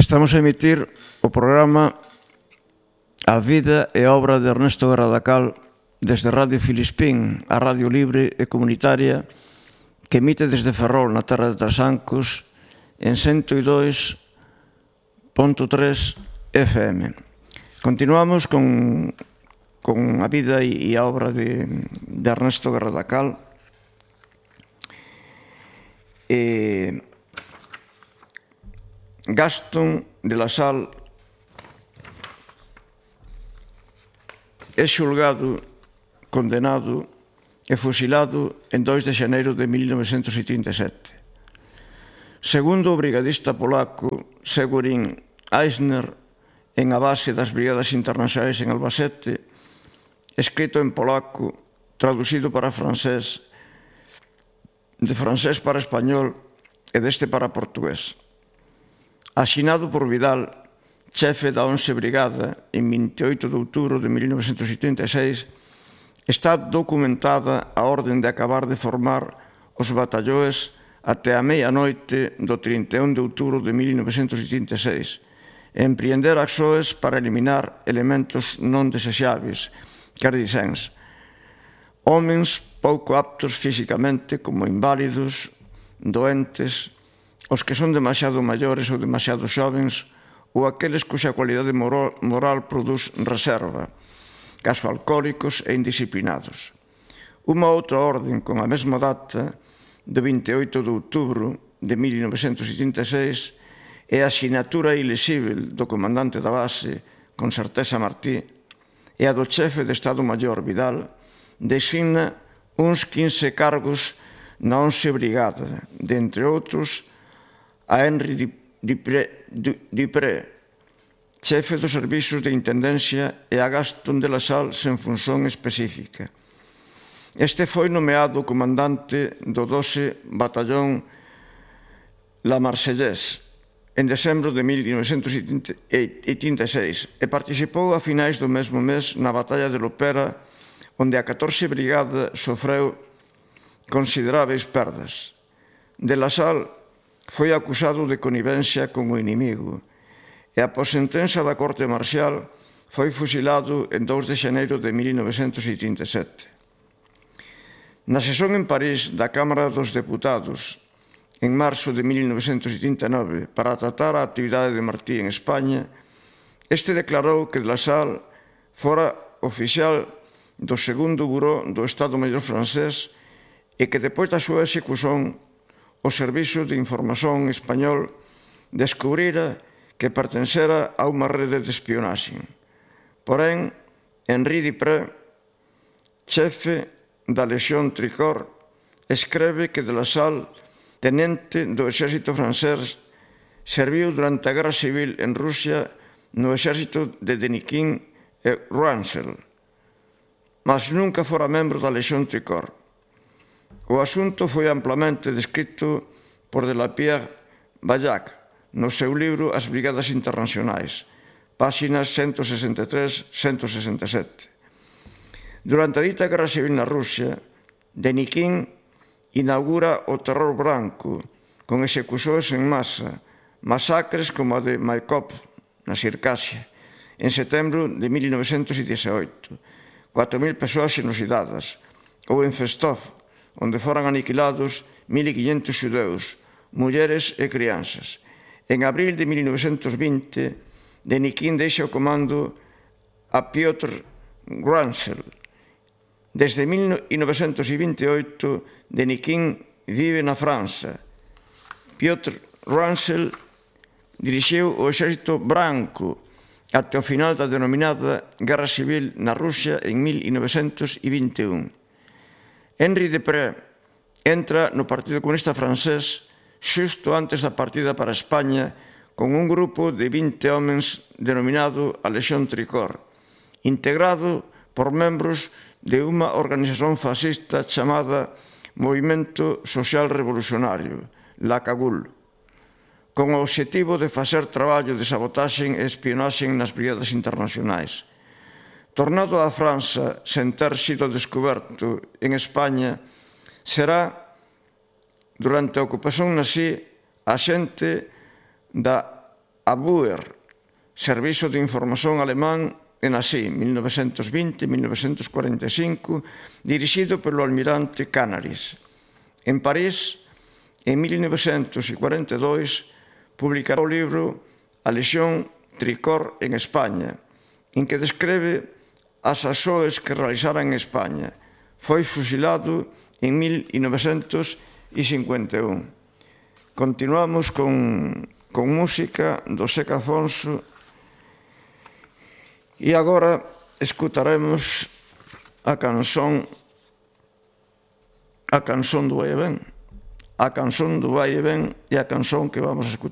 Estamos a emitir o programa A vida e obra de Ernesto Garradacal desde Radio Filispín, a radio libre e comunitaria que emite desde Ferrol, na terra de Trasancos, en 102.3 FM. Continuamos con a vida e a obra de Ernesto Garradacal. Gastón de la Sal é xulgado, condenado e fusilado en 2 de xaneiro de 1937. Segundo o brigadista polaco Seweryn Eisner, en a base das Brigadas Internacionais en Albacete, escrito en polaco, traducido para francés, de francés para español e deste para portugués. Asinado por Vidal, chefe da 11 Brigada, en 28 de outubro de 1986, está documentada a orden de acabar de formar os batallóes até a medianoite do 31 de outubro de 1986 e empreender accións para eliminar elementos non desexáveis, quer dixens, homens pouco aptos físicamente como inválidos, doentes, os que son demasiado maiores ou demasiado xovens ou aqueles cuxa cualidade moral produz reserva, caso alcohólicos e indisciplinados. Unha outra orden con a mesma data, de 28 de outubro de 1976, é a sinatura ilesível do comandante da base, con certeza Martí, e a do chefe de Estado Maior Vidal, designa uns 15 cargos na 11 Brigada, de entre outros, a Henri Dupré, chefe dos servizos de intendencia, e a Gastón de la Sal sen función específica. Este foi nomeado comandante do 12 Batallón La Marseillaise en decembro de 1986 e participou a finais do mesmo mes na Batalla de Lopera, onde a 14 Brigada sofreu consideráveis perdas. De la Sal foi acusado de connivencia con o inimigo e, após sentenza da Corte Marcial, foi fusilado en 2 de xaneiro de 1987. Na sesión en París da Cámara dos Deputados, en marzo de 1989, para tratar a actividade de Martí en España, este declarou que de la Sal fora oficial do segundo buró do Estado Maior francés e que, depois da súa execución, o Servizo de Información español descubrira que pertencera a unha rede de espionaxe. Porén, Henri Dupré, chefe da Legión Tricor, escreve que de la Sal, tenente do exército francés, serviu durante a Guerra Civil en Rusia no exército de Denikin e Ruanzel, mas nunca fora membro da Legión Tricor. O asunto foi amplamente descrito por Delapierre Ballac no seu libro As Brigadas Internacionais, páxinas 163-167. Durante a dita Guerra Civil na Rusia, Denikin inaugura o terror branco con execucións en masa, masacres como a de Maikop, na Circasia, en setembro de 1918, 4.000 persoas xenocidadas, ou en Festov, onde foran aniquilados 1.500 xudeus, mulleres e crianzas. En abril de 1920, Denikin deixa o comando a Piotr Ruanzel. Desde 1928, Denikin vive na França. Piotr Ruanzel dirixiu o exército branco até o final da denominada Guerra Civil na Rusia en 1921. Henri Dupré entra no Partido Comunista Francés xusto antes da partida para España con un grupo de 20 homens denominado a Legión Tricor, integrado por membros de unha organización fascista chamada Movimento Social Revolucionario, la CAGUL, con o obxectivo de facer traballo de sabotaxe e espionaxe nas brigadas internacionais. Tornado a França sen ter sido descoberto en España, será, durante a ocupación nazi, axente da Abwehr, Servizo de Información Alemán en Nazi, 1920-1945, dirixido polo almirante Canaris. En París, en 1942, publicará o libro A Lexión Tricor en España, en que describe as açoes que realizara en España. Foi fusilado en 1951. Continuamos con música do Seca Afonso e agora escutaremos a canción do Vai e Ven. A canción do Vai e Ven e a canción que vamos a escutar